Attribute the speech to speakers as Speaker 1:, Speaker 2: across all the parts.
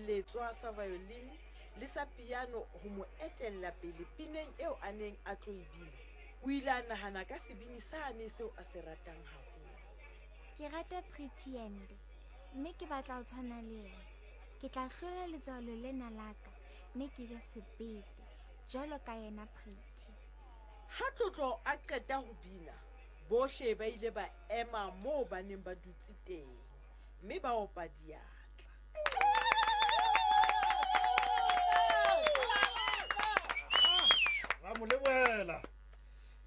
Speaker 1: seletswa sa violin le sa piano ho mo etella pele pineng eo a neng a tlo e bina, o ile a nahana ka sebini sane seo a se ratang haholo.
Speaker 2: Ke rata Pretty Yende mme ke batla ho tshwana le yena. Ke tla hlola letswalo lena la ka mme ke be sebete jwalo ka yena Pretty.
Speaker 1: Ha Tlotlo a qeta ho bina, bohle ba ile ba ema moo ba neng ba dutse teng mme ba opa diatla.
Speaker 3: Ra mo lebohela.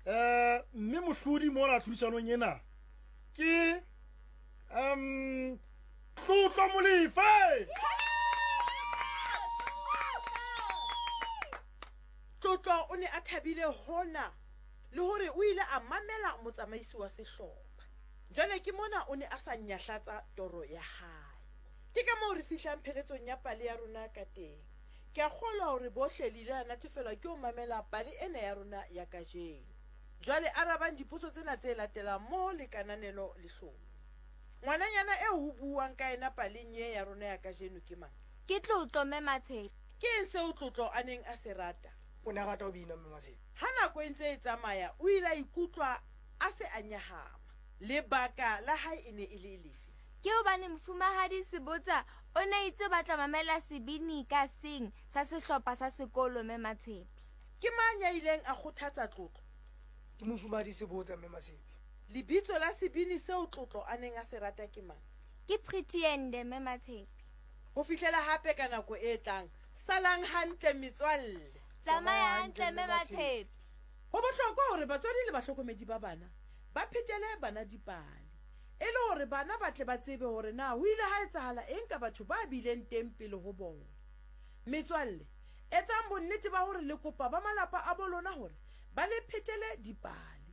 Speaker 3: Um mme mohlodi mona tlhodisanong ena ke um Tlotlo Molefe.
Speaker 1: Tlotlo o ne a thabile hona le hore o ile a mamela motsamaisi wa sehlopha. Jwale ke mona o ne a sa nyahlatsa toro ya hae. Ke ka moo re fihlang pheletsong ya pale ya rona ka teng. Ke a kgolwa hore bohle le ile la natefelwa ke ho mamela pale ena ya rona ya kajeno. Jwale arabang dipotso tsena tse latelang mmoho le kananelo le hlomi. Ngwananyana eo ho buuwang ka yena paleng ye ya rona ya kajeno ke mang?
Speaker 2: Ke Tlotlo, Mme Matshepe.
Speaker 1: Ke eng seo Tlotlo a neng a se rata?
Speaker 4: O ne a rata ho bina, Mme Matshepe.
Speaker 1: Ha nako e ntse e tsamaya, o ile a ikutlwa a se a nyahama. Lebaka la hae e ne e le lefe?
Speaker 2: Ke hobane Mofumahadi Sebotsa o ne a itse o batla mamela sebini ka seng sa sehlopha sa sekolo, Mme Matshepe.
Speaker 1: Ke mang ya ileng a kgothatsa Tlotlo?
Speaker 4: Ke Mofumahadi Sebotsa, Mme Matshepe.
Speaker 1: Lebitso la sebini seo Tlotlo a neng a se rata ke mang?
Speaker 2: Ke Pretty Yende, Mme Matshepe.
Speaker 1: Ho fihlela hape ka nako e tlang, salang hantle metswalle.
Speaker 2: Tsamaya hantle, Mme Matshepe.
Speaker 1: Ho bohlokwa hore batswadi le bahlokomedi ba bana ba phetele bana dipale e le hore bana ba tle ba tsebe hore na ho ile ha etsahala eng ka batho ba bileng teng pele ho bona. Metswalle, etsang bonnete ba hore le kopa ba malapa a bo lona hore ba le phetele dipale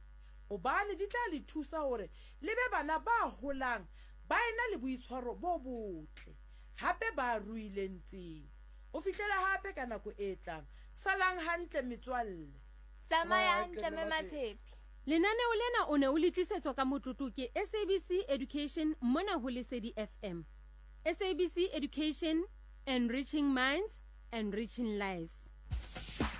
Speaker 1: hobane di tla le thusa hore le be bana ba holang ba ena le boitshwaro bo botle hape ba ruileng tsebo. Ho fihlela hape ka nako e tlang, salang hantle metswalle.
Speaker 2: Tsamaya hantle Mme Matshepe.
Speaker 5: Lenaneo lena o ne o le tlisetswa ka motlotlo ke SABC Education mona ho Lesedi FM. SABC Education, enriching minds, enriching lives.